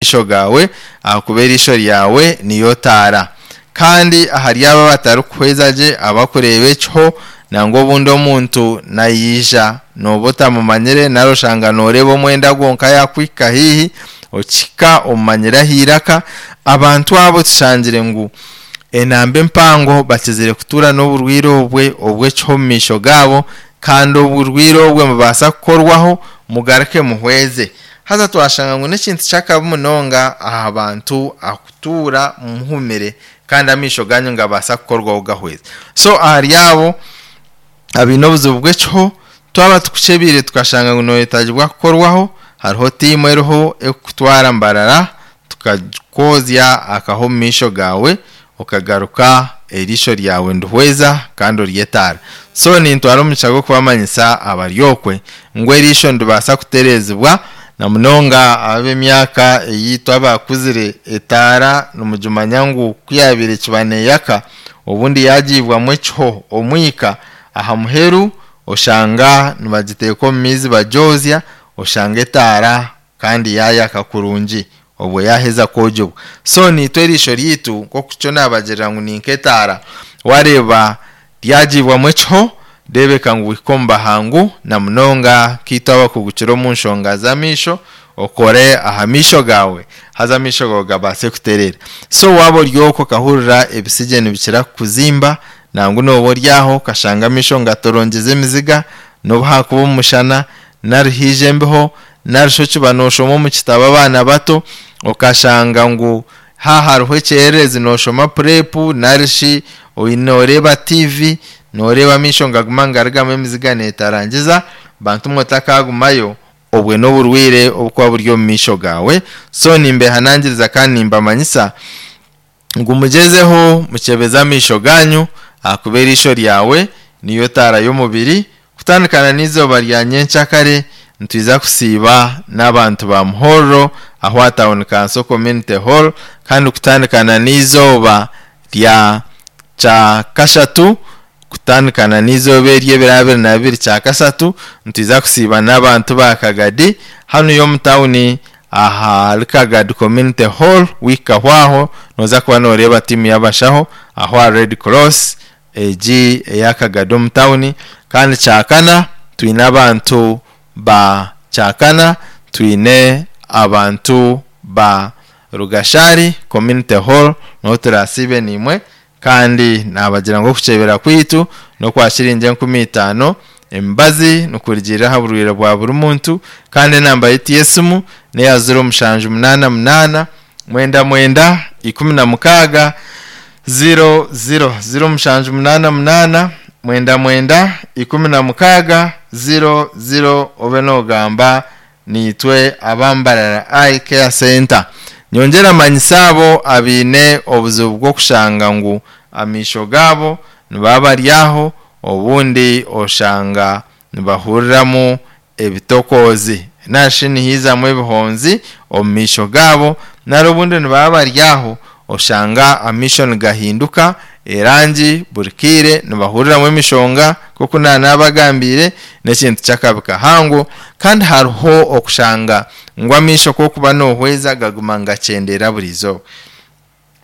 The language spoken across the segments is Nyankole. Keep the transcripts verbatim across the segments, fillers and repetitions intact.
amaisho gaawe, ahakuba eriisho ryawe niyo taara. Kandi ahari abo abatarikuhweza gye, abakureeba ekiho, nangwa obundi omuntu naija nooba otamumanyire, nari oshanga nooreeba omwenda gwonka yaakuhika haihi, okihika omumanyire aha iraka. Abantu abo tushangire ngu enamba empango bakizire kutuura n'oburwaire obwe obw'ekiho omu maisho gaabo, kandi oburwaire obwe mubaasa kukorwaho mugaruke muhweze. Haza twashanga ngu n'ekintu ky'akabi munonga aha bantu akutuura muhumire kandi amaisho ganyu ngabaasa kukorwaho gahweze. So ahari abo abaine obuzibu bw'ekiho, twaba tukukyebire tukashanga ngu noyetagibwa kukorwaho, hariho tiimu eriho ekukutwara Mbarara tukakwozya akaho omu maisho gaawe, okagaruka eriisho ryawe ndihweza kandi oryetaara. So nintwara omugisha gw'okubamanyisa abari okwe ngu eriisho niribaasa kutereezibwa, na munonga ab'emyaka eyiitu abakuzire etaara nimugimanya ngu ku yaabaire ekiba neeyaka, obundi yaagiibwamu ekiho omwika aha muheru oshanga nibagiteeka omu maizi bagyozya, oshanga etaara kandi yaayaka kurungi obwo yaaheza kwogibwa. So niitwe eriisho ryaitu nk'oku kyo naabagirira ngu ni nk'etaara, wareeba ryagiibwamu ekiho reebeka ngu wihika omu bahangu, na munonga nkaitwe abakugukire omu nshonga z'amaisho, okore aha maisho gaawe haza amaisho gaawe gabaase kutereera. So waaba ori okwo okahurira ebisigye nibikira kukuzimba, nangwa nooba ori aho okashanga amaisho ngatorongyeza emiziga, n'obu haakuba omu mushana nari haija embeho, nari shi okiba nooshoma omu kitabo abaana bato okashanga ngu ha hariho ekyererezi nooshoma purepu, nari shi nooreeba T V, nooreeba amaisho ngaguma nigarugamu emiziga neetarangiza, bantu mwe otakagumayo, obwe n'oburwaire obukuba buri omu maisho gaawe. So nimbehanangiriza kandi nimbamanyisa ngu mugyezeho mukyebeze amaisho ganyu, ahakuba eriisho ryawe niyo taara y'omubiri. Kutandikana n'eizooba rya nyenkyakare nitwiza kusiiba n'abantu ba Muhorro aho aha Town Council Community Hall, kandi kutandikana n'eizooba rya kyakashatu, kutandikana n'eizooba eryo ebiro abiri na bibiri kyakashatu, nitwiza kusiiba n'abantu ba Kagadi hanu y'omu tawuni ahari Kagadi Community Hall. Wihikaho aho nooza kuba nooreeba tiimu y'abashaho aho aha Red Cross egi eya Kagadi omu tawuni. Kandi kyakana twine abantu ba kyakana, twine abantu ba Rugashari Community Hall, niho turaasiibe naimwe. Kandi naabagira ngu okukyebera kwaitu n'okwa shiringi enkumi itaano, emibazi nikurugiirira aha burwaire bwa buri muntu. Kandi enamba yaitu y'esimu n'eya ziro mushanju munaana munaana mwenda mwenda ikumi na mukaaga ziro ziro, ziro mushanju munaana munaana mwenda mwenda ikumi na mukaaga ziro ziro, obe noogamba niitwe abambarara Eye Care Center. Nyongyera manyisa abo abaine obuzibu bw'okushanga ngu amaisho gaabo nibaba bari aho, obundi oshanga nibahuriramu ebitokoozi narishi nihiizamu ebihonzi omu maisho gaabo, nari obundi nibaba bari aho oshanga amaisho nigahinduka erangi buri kaire, nibahuriramu emishonga nk'oku naanabagambiire, n'ekintu ky'akabi kahango. Kandi hariho okushanga ngu amaisho k'okuba noohweza gaguma nigakyendeera buri izooba.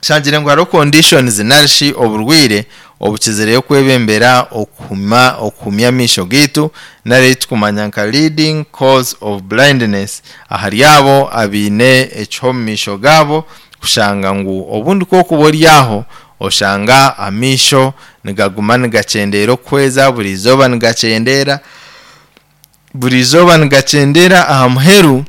Shangire ngu hariho conditions narishi oburwaire obukizireyo kwebembera okuhuma okuhumya amaisho gaitu, nari ei tukumanya nka leading cause of blindness, ahari abo abaine ekiho omu maisho gaabo, kushanga ngu obundi k'okuba ori aho oshanga amaisho nigaguma nigakyendeera okuhweza buri izooba, nigakyendeera buri izooba, nigakyendeera, aha muheru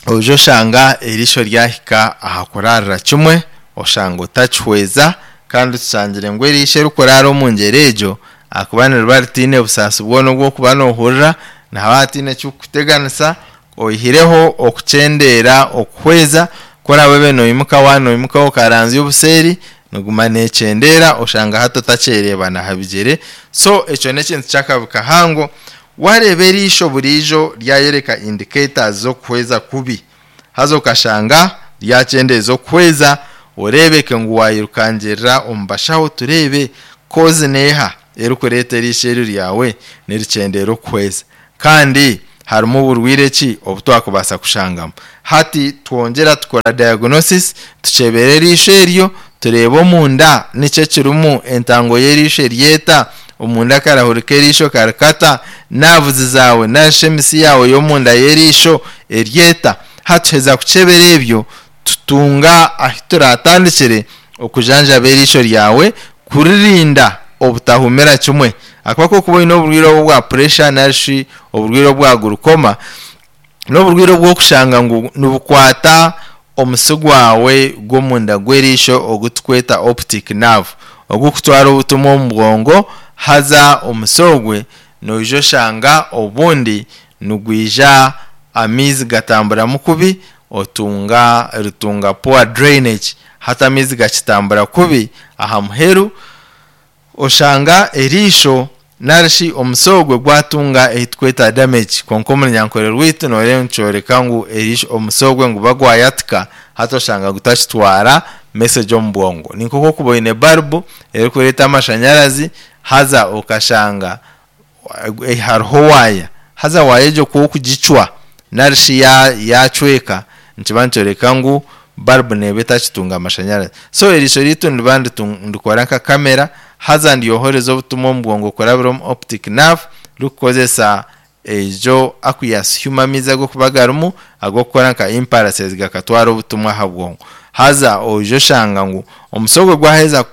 oija oshanga eriisho ryahika aha kuraarira kimwe, oshanga otakihweza. Kandi tushangire ngu eriisho erikuraara omu ngyera egyo, ahakuba niriba ritaine busaasi bwona obw'okuba noohurira, nihaba hataine ekirikukuteganisa oihireho okukyendeera okuhweza. Ku oraabe noimuka, waaba noimuka okaranzya obuseeri, niguma neekyendeera, oshanga hati otakyereeba n'aha bigyere. So ekyo n'ekintu ky'akabi kahango. Wareeba eriisho buriijo ryayoreka indicators z'okuhweza kubi, haza okashanga ryakyendeeza okuhweza, oreebeke ngu waayirukangirira omu bashaho, tureebe cause neeha erikureeta eriisho eryo ryawe nirikyendeera okuhweza. Kandi harimu oburwire ki obutwakubaasa kushangamu. Hati twongyera tukora diagnosis, tukyebera eriisho eryo, tureebe omunda nikyo ekirimu, entango y'eriisho eryeta, omunda karahurika eriisho karikata, nerves zaawe narishi emisi yaawe y'omunda y'eriisho eryeta. Hati tuheza kukyebera ebyo, tutunga ahi turatandikire okujanjaba eriisho ryawe kuririnda obutahumira kimwe. Akuba kokuba oine oburwire obu bwa pressure narishi oburwire obwa glaucoma, n'oburwire obw'okushanga ngu nibukwata omusi gwawe gw'omunda gw'eriisho ogutukweta optic nerve, ogukutwara obutumwa omu bwongo. Haza omusi ogwe noija oshanga obundi nigwija amaizi gatamburamu kubi, otunga rutunga poor drainage. Hati amaizi gakitambura kubi, aha muheru oshanga eriisho narishi omusi ogwe gwatunga ei tukweta damage. Kwonka omu runyankore rwaitu noreeba nikyoreka ngu eriisho omusi ogwe nguba gwayatika, hati oshanga gutakitwara message omu bwongo. Ni nk'oku okuba oine barubu erikureeta amashanyarazi, haza okashanga hariho waaya, haza waaya egyo kwokugicwa narishi yacweka, nikiba nikyoreka ngu barubu neeba etakitunga amashanyarazi. So eriisho ryaitu niriba nirikora nka kamera, haza niryohereza obutumwa omu bwongo kurabira omu optic nerve, rikukozesa ejo aqueous humor, amaizi agokuba garimu ag'okukora nka impulses gakatwara obutumwa aha bwongo. Haza oija oshanga ngu omusi ogwo gwaheza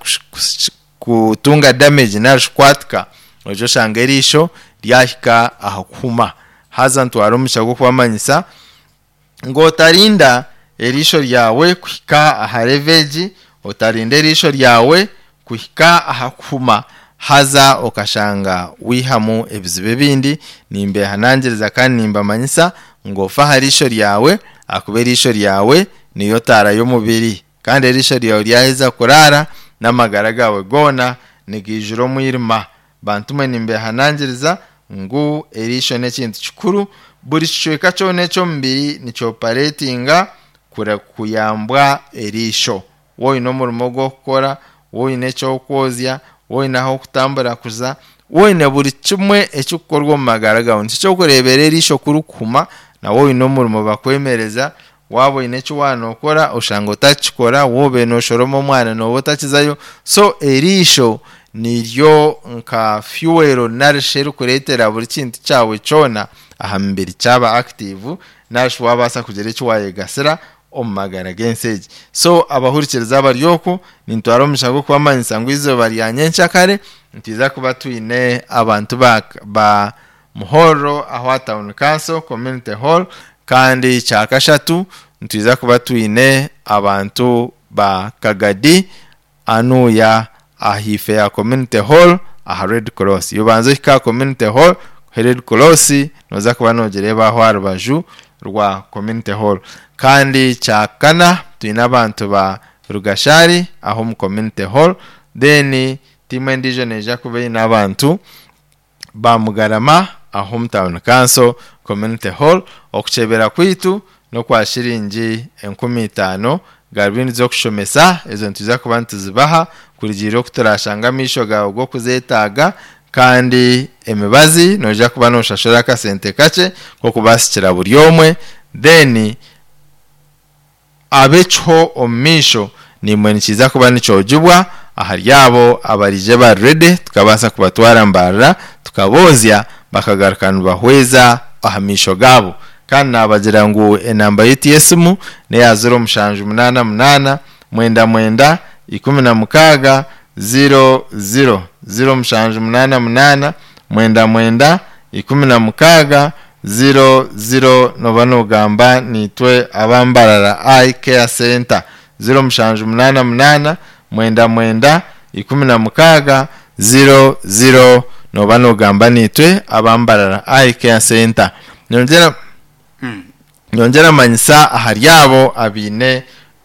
kutunga damage narishi kwatika, oija oshanga eriisho ryahika aha kuhuma. Haza ntwara omugisha gw'okubamanyisa ngu otarinda eriisho ryawe kuhika aha level egi, otarinda eriisho ryawe kuhika aha kuhuma, haza okashanga wihamu ebizibu ebindi. Nimbehanangiriza kandi nimbamanyisa ngu ofe aha riisho ryawe, ahakuba eriisho ryawe niyo taara y'omubiri, kandi eriisho ryawe ryaheza kuraara, n'amagara gawe goona nigaijura omwirima. Bantu mwe, nimbehanangiriza ngu eriisho n'ekintu kikuru. Buri kicweka kyona eky'omubiri nikyoperatinga kuyambwa eriisho. Woine omurimo gw'okukora, woine ekyokwozya, woine ah'okutambura kuza, woine buri kimwe ekikukorwa omu magara gawe, nikyo kyokureebera eriisho kurikuhuma, nawe oine omurimo bakwemereza. Waaba oine eki waanokora oshanga otakikora, woba noshoroma omwana nooba otakizayo. So eriisho niryo nka fuel narishi erikureetera buri kintu kyawe kyona aha mubiri kyaba active, narishi wabaasa kugira eki wayegasira omu magara g'ensi egi. So abahurikiriza abari oku, nintwara omugisha gw'okubamanyisa ngu izooba rya nyenkyakare nitwiza kuba twine abantu ba, ba Muhorro aho Town Council Community Hall, kandi kyakashatu nitwiza kuba twine abantu ba Kagadi anuya ahife ya Community Hall aha Red Cross. Yobanza ohika Community Hall, Red Cross noza kuba nogireeba aho aha rubaju rwa Community Hall. Kandi kyakana twine abantu ba Rugashari aho omu Community Hall. Then tiimu endiijo neija kuba eine abantu ba Mugarama aho omu Town Council Community Hall. Okukyebera kwaitu n'okwa shiringi enkumi itaano. Garubindi z'okushomesa ezo nitwiza kuba nituzibaha kurugiirira oku turashanga amaisho gawe g'okuzeetaaga, kandi emibazi noija kuba noshashura akasente kakye k'okubasikira buri omwe. Then ab'ekiho omu maisho nimwe nikiza kuba nikyogibwa ahari abo abarije bari ready, tukabaasa kubatwara Mbarara tukaboozya bakagaruka nibahweza aha maisho gaabo. Kandi nabagira ngu enamba yitu y'esimu neya ziro mushanju munaana munaana mwenda mwenda ikumi na mukaaga ziro ziro, ziro mushanju munaana munaana mwenda mwenda ikumi na mukaaga ziro ziro. Noba nogamba nitwe abambarara Eye Care Center, ziro mushanju munaana munaana mwenda mwenda ikumi na mukaaga ziro ziro, noba nogamba nitwe abambarara Eye Care Center. Nyongera nyongera manyisa ahari abo abaine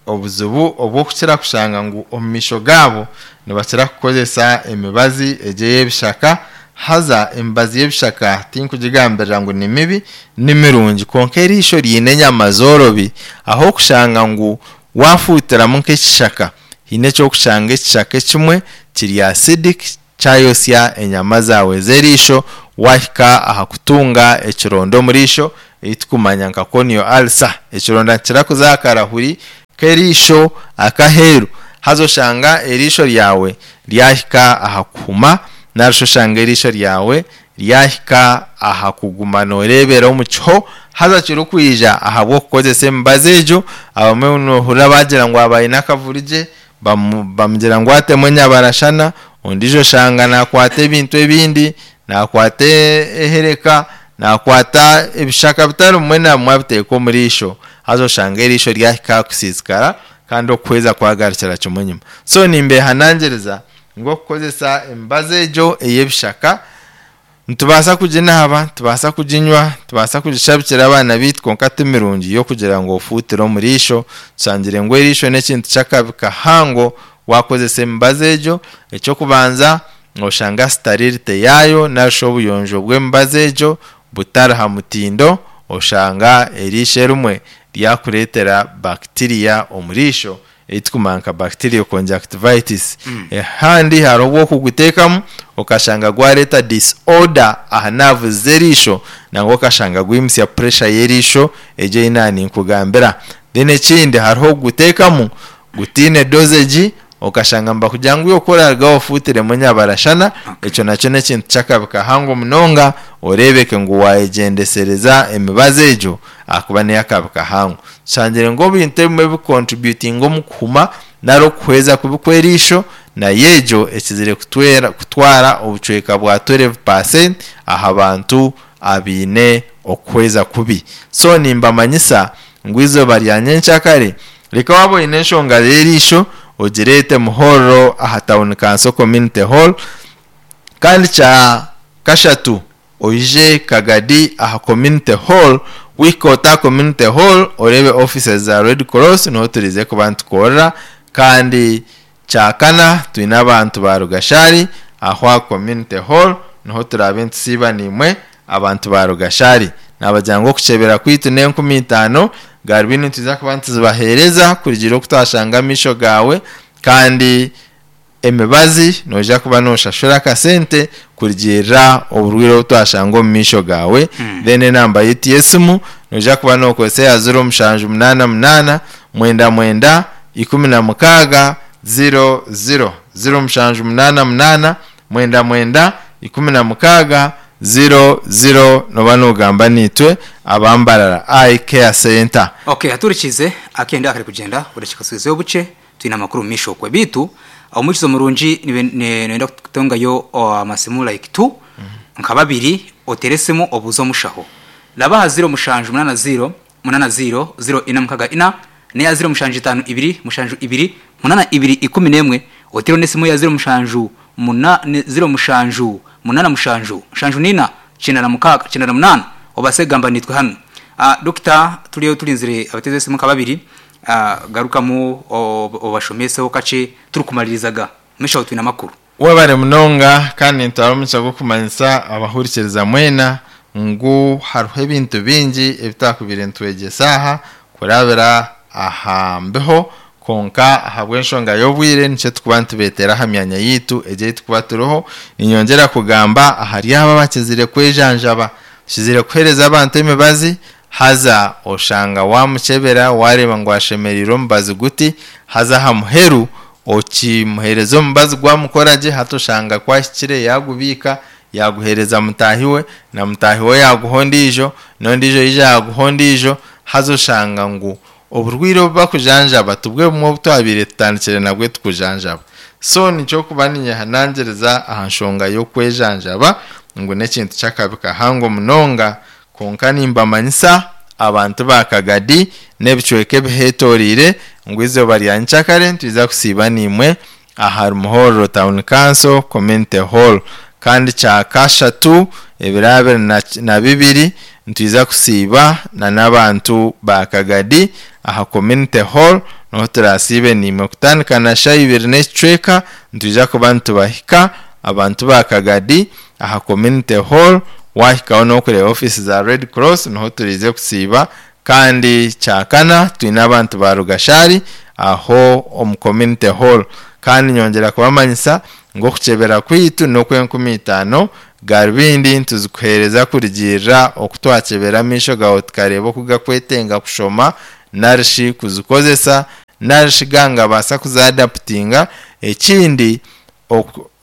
obuzibu obw'okukira kushanga ngu omu maisho gaabo nibakira kukozesa emibazi egyo ey'ebishaka. Haza emibazi y'ebishaka tinkugigambirira ngu ni mibi, ni mirungi, kwonka eriisho riine enyama zoorobi, aho okushanga ngu wafuutiramu nk'ekishaka, haine ekyokushanga ekishaka ekimwe kiri acidic. Kyayosya enyama zaawe z'eriisho, wahika aha kutunga ekironda omu riisho ekitukumanya nka corneal ulcer. Ekironda nikikira kuza aha karahuri k'eriisho akaheeru, haza oshanga eriisho ryawe ryahika aha kuhuma, narishi oshanga eriisho ryawe ryahika aha kuguma nooreebera omu kiho, haza kirikwija ahabw'okukozesa emibazi egyo. Abamwe noohurira bagira ngu aba aine akavurigye, bamugira ngu atemu enyabarashana, ondiijo oshanga naakwata ebintu ebindi, naakwata ehereka, naakwata ebishaka bitari bimwe na bimwe abiteeka omu riisho, haza oshanga eriisho ryahika aha kusiisikara kandi okuhweza kwagarukira kimwe enyima. So nimbeehanangiriza ngu okukozesa emibazi egyo ey'ebishaka, nitubaasa kuginaaba, nitubaasa kuginywa, nitubaasa kugishabikira abaana baitu, kwonka ti mirungi y'okugira ngu ofuutire omu riisho. Tushangire ngu eriisho n'ekintu ky'akabi kahango waakozesa emibazi egyo. Eky'okubanza, nooshanga sterility yaayo narishi obuyonjo bw'emibazi egyo butari ha mutindo, oshanga eriisho erimwe ryakureetera bacteria omu riisho ei turikumanya nka bacterial conjunctivitis. Ahandi hariho obu orikuguteekamu okashanga gwareeta disorder aha nerves z'eriisho, nangwa okashanga gwimutsya pressure y'eriisho egyo ei naaba ninkugambira. Then ekindi, hariho okuguteekamu gutaine dosage, okashanga nibakugira ngu iwe ku oraarugaho ofuutiremu enyabarashana, ekyo nakyo n'ekintu ky'akabi kahango munonga, oreebeke ngu waayegyendesereza emibazi egyo ahakuba n'ey'akabi kahango. Tushangire ngu ebintu ebimwe ebikukontributinga omu kuhuma nari okuhweza kubi kw'eriisho, nayo egyo ekizire kutwera kutwara obucweka bwa twelve percent aha bantu abaine okuhweza kubi. So nimbamanyisa ngu eizooba rya nyenkyakare, reka waaba oine enshonga y'eriisho ogireete Muhorro aha Town Council Community Hall. Kandi kya kashatu, oije Kagadi aha Community Hall. Wahika ota aha Community Hall oreebe offices za Red Cross, niho turize kuba nitukorera. Kandi kya kana, twine abantu ba Rugashari aho aha Community Hall niho turaabe nitusiiba naimwe abantu ba Rugashari. Naabagira ngu okukyebera kwaitu n'enkumi itaano, garubindi nitwija kuba nituzibaheereza kurugiirira oku twashanga amaisho gaawe, kandi emibazi noija kuba nooshashura akasente kurugiirira oburwaire obu twashanga omu maisho gaawe. Then enamba yaitu y'esimu noija kuba nookozesa eya ziro mushanju munaana munaana mwenda mwenda ikumi na mukaaga ziro ziro. Ziro mushanju munaana munaana mwenda mwenda ikumi na mukaaga ziro ziro nooba noogamba naitwe aba Mbarara Eye Care Centre. Ok, haturikiize akenda akari kugyenda obudakiika twizeyo bukye twine amakuru omu maisho okwe. Beitu omwikiriza omurungi noyenda kutungayo amasimu like two nka babiri oteere esimu obuuze omushaho. Raba aha ziro mushanju munaana ziro munaana ziro ziro ina mukaga ina n'eya ziro mushanju itaano ibiri mushanju ibiri munaana ibiri ikumi n'emwe oteereho n'esimu eya ziro mushanju muna ziro mushanju munaana mushanju mushanju n'ina kyenda na mukaaga kyenda na munaana obaase kugamba naitwe hanu. Dokita turiyo turinzire abateezi b'esimu nka babiri, garukamu obashomeseho kakye turikumaririzaga. Omumaisho aho twine amakuru. Webare munonga kandi nintwara omugisha gw'okumanyisa abahurikiriza mwena ngu hariho ebintu bingi ebi twakubaire nitwegyesa aha kurabira aha mbeho, kwonka ahabw'enshonga y'obwire nikyo turikuba nitubeetera aha myanya yaitu egyo ei turikuba turiho. Niinyongyera kugamba ahari abo abakizire kwejanjaba, tukizire kuheereza abantu emibazi haza oshanga waamukyebera waareeba ngu ashemereire omubazi guti, haza aha muheru okimuheereza omubazi gwamukora gye, hati oshanga ku ahikire yaagubiika yaaguheereza mutaahi we, na mutaahi we yaaguha ondiijo, n'ondiijo yaija yaaguha ondiijo, haza oshanga ngu oburwaire obu bakujanjaba tibwo bumwe obu twabaire tutandikire nabwo tukujanjaba. So nikyo kuba ninyehanangiriza aha nshonga y'okwejanjaba ngu n'ekintu ky'akabi kahango munonga, kwonka nimbamanyisa abantu ba Kagadi n'ebicweka ebiheetoreire ngu eizooba rya nyenkyakare nitwija kusiiba naimwe ahari Muhorro Town Council Community Hall. Kandi kya kashatu ebiro abiri na bibiri nitwija kusiiba na n'abantu ba Kagadi aha Community Hall, niho turaasiibe naimwe kutandika na shaaha ibiri n'ekicweka nitwija kuba nitubahika abantu ba Kagadi aha Community Hall. Waahikaho n'okureeba ofiisi za Red Cross niho turiize kusiiba. Kandi kyakana twine abantu ba Rugashari aho omu Community Hall. Kandi nyongyera kubamanyisa Ng'okukyebera kwitu n'okwenkumi itaano garubindi ntuzikuheereza kurugirira okutwakyebera amaisho gawe tukareeba oku gakwetenga kushoma narishi kuzikozesa narishi gangabaasa kuzaadaputinga. Ekindi,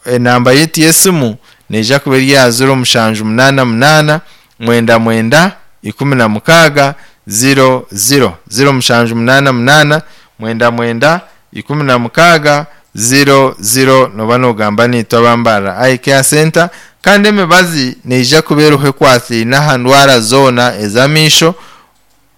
enamba yitu y'esimu neija kuba eri aha ziro mushanju munaana munaana mwenda mwenda ikumi na mukaaga ziro ziro ziro mushanju munaana munaana mwenda mwenda ikumi na mukaaga ziro ziro noba nogamba niitwe abambarira Eye Care Center. Kandi emibazi neija kuba eriho ekwatiraine aha ndwara zoona ez'amaisho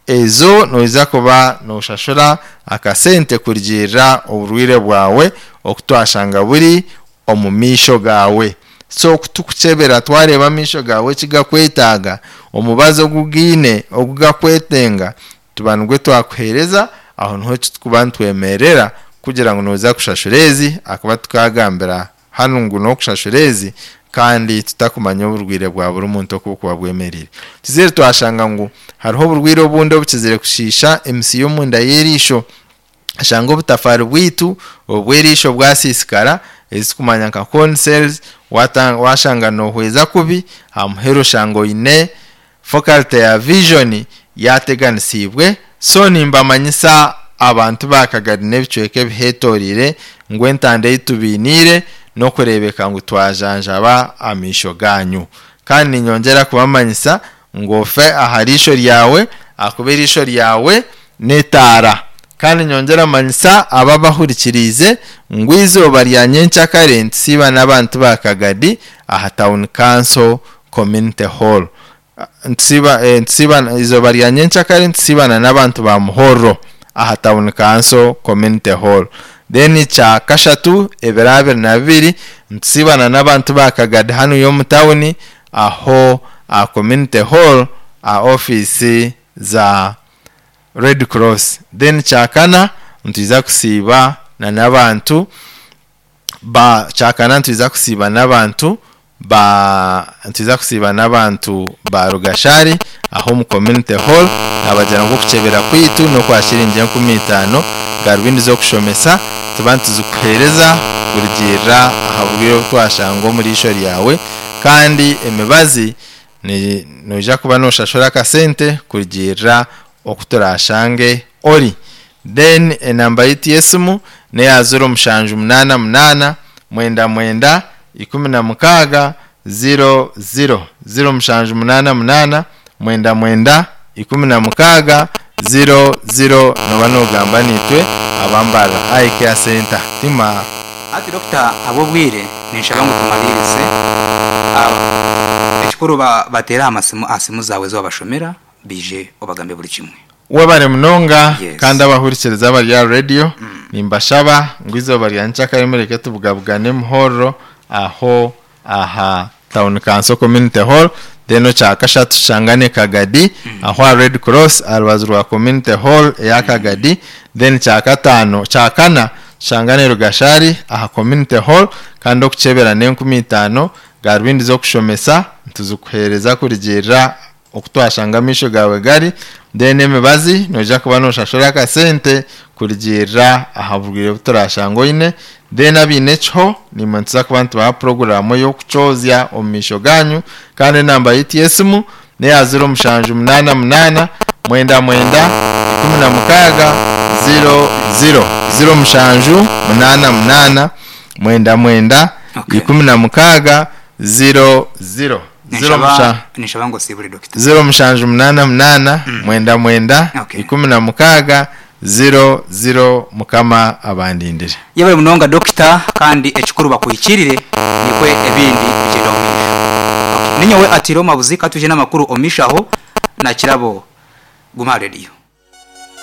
ezo noija kuba noshashura akasente kurugirira oburwaire bwawe okutwashanga buri omu maisho gawe. So kutukukyebera twareeba amaisho gawe ekigakwetaaga, omubazi ogugaine ogugakwetenga tuba nigwe twakuheereza, aho niho tukuba nitwemerera kugira ngu noza kushashura ezi, akuba tukagambira hanu ngu n'okushashura ezi kandi tutakumanya oburwaire bwa buri muntu oku bukuba bwemereire. Tuzire twashanga ngu hariho oburwaire obundi obukizire kushiisha emisi y'omunda y'eriisho, ashanga obutafaari bwitu obw'eriisho bwasiisikara ezirikumanywa nka cone cells, washanga nohweza kubi, aha muheru oshanga oine faculty ya vision yateganisiibwe. So nimbamanyisa abantu ba Kagari n'ebicweka ebiheetoreire ngu entanda ei tubainiire n'okureebeka ngu twajanjaba amaisho ganyu. Kandi ninyongyera kubamanyisa ngu ofe aha riisho ryawe ahakuba eriisho ryawe n'etaara. Kandi nyongyera manyisa abo abahurikiriize ngu eizooba rya nyenkyakare nitusiiba n'abantu ba Kagadi aha Town Council Community Hall. Nitusiiba nitusiiba eizooba rya nyenkyakare nitusiibana n'abantu ba Muhorro aha Town Council Community Hall. Then kya kashatu ebiro abiri na bibiri nitusiibana n'abantu ba Kagadi hanu y'omu tawuni aho aha Community Hall aha ofiisi za Red Cross. Then kyakana nitwiza kusiiba na n'abantu ba kyakana nitwiza kusiiba n'abantu ba nitwiza kusiiba n'abantu ba Rugashari aho omu Community Hall. Nabagira ngu okukyebera kwitu n'okwa shiringi enkumi itaano garubindi z'okushomesa tuba nituzikuheereza kurugirira aha burwaire obu twashanga omu riisho ryawe. Kandi emibazi noija kuba noshashura akasente kurugirira oku turashange ori. Then enamba yitu y'esimu neya ziro mushanju munaana munaana mwenda mwenda ikumi na mukaaga ziro ziro ziro mushanju munaana munaana mwenda mwenda ikumi na mukaaga ziro ziro noba nogamba niitwe abambarira Eye Care Center. Tima. Ati dokita, ab'obwire ninshaba ngu tumalirize. Ekikuru bateere aha simu zaawe ez'obashomera bije obagambe buri kimwe. Webare munonga. Yes. Kandi abahurikiriza abari aha radio nimbashaba ngu eizooba rya nkyakare mureke tubugabugane Muhorro aho aha Town Council Community Hall. Then kya kashatu tushangane Kagadi aho aha Red Cross aha rubaju rwa Community Hall eya Kagadi. Then kya kataano kya kana tushangane Rugashari aha Community Hall. Kandi okukyebera n'enkumi itaano garubindi z'okushomesa ntuzikuheereza kurugirira okutwashanga amaisho gawe gari. Then emibazi noija kuba noshashura akasente kurugirira aha burwaire obu turashanga oine. Then abaine ekiho nimwe nituza kuba nitubaha puroguraamu y'okukyozya omu maisho ganyu. Kandi enamba yitu y'esimu neya ziro mushanju munaana munaana mwenda mwenda ikumi na mukaaga ziro ziro ziro mushanju munaana munaana mwenda mwenda Okay. ikumi na mukaaga ziro ziro ziro Ninshaba musha ninshaba ngu osiibure dokita. ziro mushanju munaana munaana mwenda mwenda Okay. ikumi na mukaaga ziro ziro. Mukama abandindire. Yebare munonga dokita, kandi ekikuru bakuhikirire nikwe ebindi bigyenda omu maisho. Okay. Ninyowe atiro mabuzi katuje n'amakuru omishaho na kirabo guma radio.